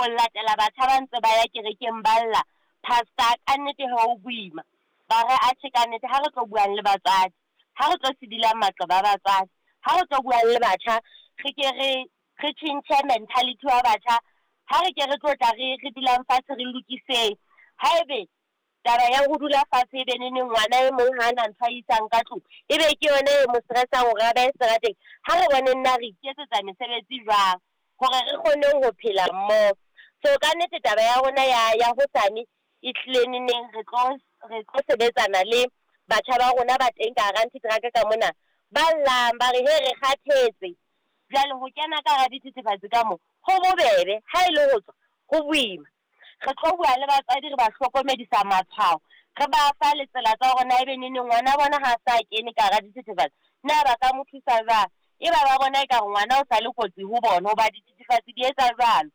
Ho latela batjha ba ntse ba ya kerekeng ba lla, pastor ka nnete ho boima. Ba re atjhe ka nnete ha re tlo buang le batswadi, ha re tlo sidilang maqeba a batswadi, ha re tlo buang le batjha, re ke re tjhentjhe mentality wa batjha. Ha re ke re tlo tla re dulang fatshe re lokiseng. Haebe taba ya ho dula fatshe e be neneng ngwana e mong ha na ntho a isang ka tlung, e be ke yona e mo stress-ang hore a behe seterateng. Ha re boneng na re iketsetsa mesebetsi jwang hore re kgone ho phela mmoho. So ka nnete taba ya rona ya hosane e tlile neneng re tlo sebetsana le batjha ba rona ba teng ka hara anti-drug ka mona. Ba llang ba re he re kgathetse. Jwale ho kena ka hara dithethefatsi ka mo ho bobebe, ha e le ho tswa ho boima. Re tlo bua le batswadi re ba hlokomedisa matshwao, re ba fa le tsela tsa hore na ebe neneng ngwana bona ha sa kene ka hara dithethefatsi na ba ka mo thusa jwang. E ba ba bona ekare ngwana o sa le kotsi ho bona hoba dithethefatsi di etsa jwalo.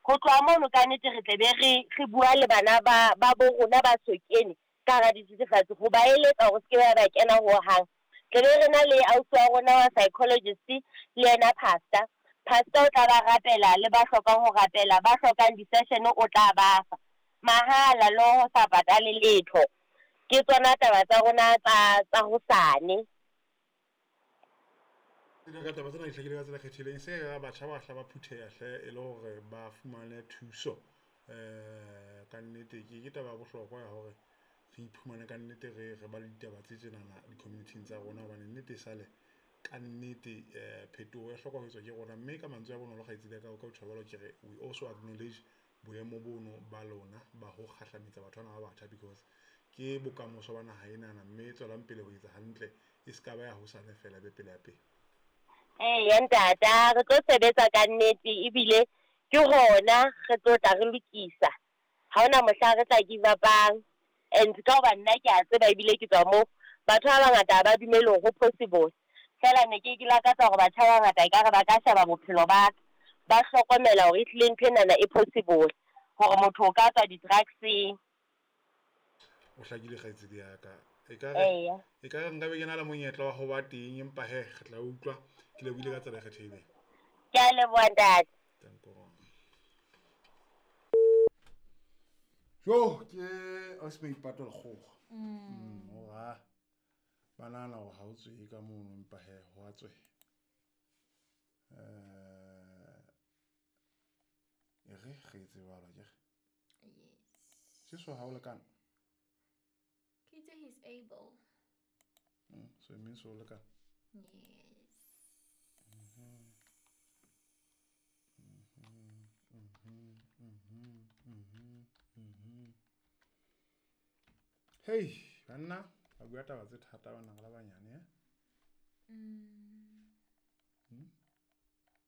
Ho tloha mono ka nnete re tle be re bua le bana ba bo rona ba so kene ka hara dithethefatsi ho ba eletsa hore se ke ba kena hohang. Tle be re na le ausi wa rona wa psychologist le yena pastor. Pastor o tla ba rapela le ba hlokang ho rapela, ba hlokang di-session o tla ba fa mahala le ho sa patale letho. Ke tsona taba tsa rona tsa hosane. Ka taba tsena di hlakile ka tsela e kgethileng. Se ka batjha ba hla ba phutheha hle e le hore ba fumane thuso. Ka nnete ke taba ya bohlokwa ya hore re iphumane ka nnete re ba le ditaba tse tjenana di-community-ing tsa rona, hobane nnete e sale ka nnete phetoho e hloka ho etswa ke rona. Mme ka mantswe a bonolo kgaitsedi ya ka o ka tjho jwalo ke re we also acknowledge boemo bono ba lona ba ho kgahlametsa batho bana ba batjha, because ke bokamoso ba naha enana, mme tswelang pele ho etsa hantle e se ka ba ya hosane fela, be pele ya pele. Eya ntata, re tlo sebetsa ka nnete ebile ke hona re tlo tla re lokisa. Ha hona mohla re tla give up-ang. And ka hoba nna ke a tseba ebile ke tswa moo, batho ba bangata ha ba dumele hore ho possible. Feela ne ke lakatsa hore batjha ba bangata ekare ba ka sheba bophelo ba ka, ba hlokomela hore ehlile ntho enana e possible hore motho o ka tswa di-drugs-eng. O hlakile kgaitsedi ya ka. Ekare nka be ke na le monyetla wa ho ba teng, empa he re tla utlwa. Ke lebohile ka tsela e kgethehileng. Ke a leboha ntate. Danko. Jo, ke ausi Maipato Lekgowa. Hore ba nahana hore ha o tswe ka mono, empa he ho a tswe. E re re etse jwalo akere? Yes. Jesu ha o lekana? Ke itse he's able. So it means o lekana? Yes. Hey, banna, ba bua taba tse thata bana re le banyane, eh?